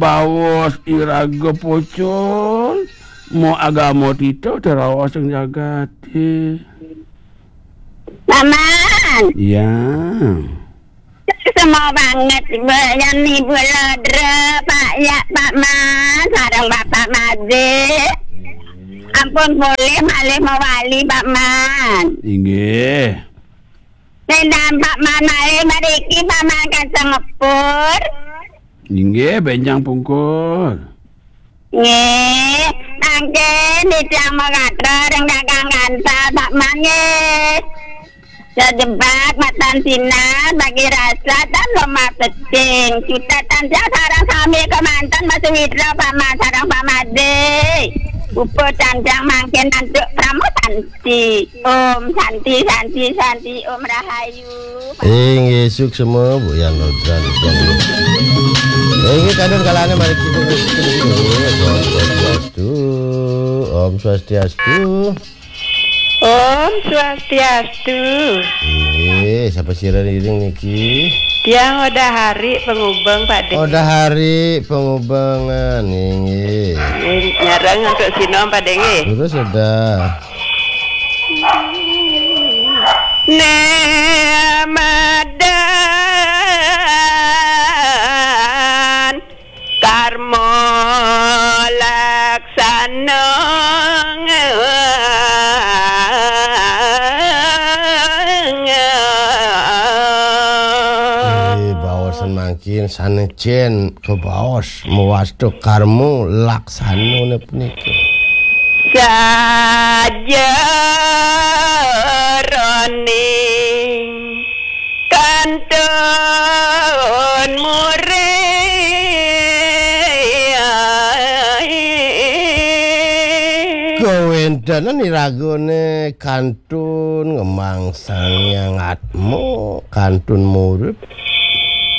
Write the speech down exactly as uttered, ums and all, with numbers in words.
Baos iraga pocol, mo agama tita teraos ing jagaté. Paman. Ya. Semua banget, Ibu. Yang Ibu Lodra, Pak Ya, Pak Man, sareng Bapak Madé. Ampun boleh malih mawali, Pak Man. Inggih. Nek Pak Man malih mriki, Pak Man kacang ngepur. Inggih, bénjang pungkur. Nggih, mangkin titiang makatur ring Kakang Kansal, Pak Man, nggih. Sedebat matan sinar, bagi rasa tan lemah pecing. Cutet titiang sareng sami kemanten Mas Witra, Pak Man, sareng Pak Madé. Puput titiang mangkin antuk Parama Santi. Om Santi, Santi, Santi, Om Rahayu. Inggih, suksma, Bu Yan Rodran. Inggih, kadang kalane mari kita Om Swastiastu. Om Swastiastu. Om Swastiastu. Inggih, sapa sira iring niki? Tiang Odah Hari Pengubeng, Pak Dé. Odah Hari Pengubengan, inggih. Nggih, nyareng antuk sinom, Pak Dé, nggih. Terus Odah. Nemadan karma laksana. Eh, baosan mangkin sanecen kabaos mawasta karma laksanane punika. Sajeroning kantun murid. Kawentenan iragane kantun ngemangsang Hyang Atma, kantun murid.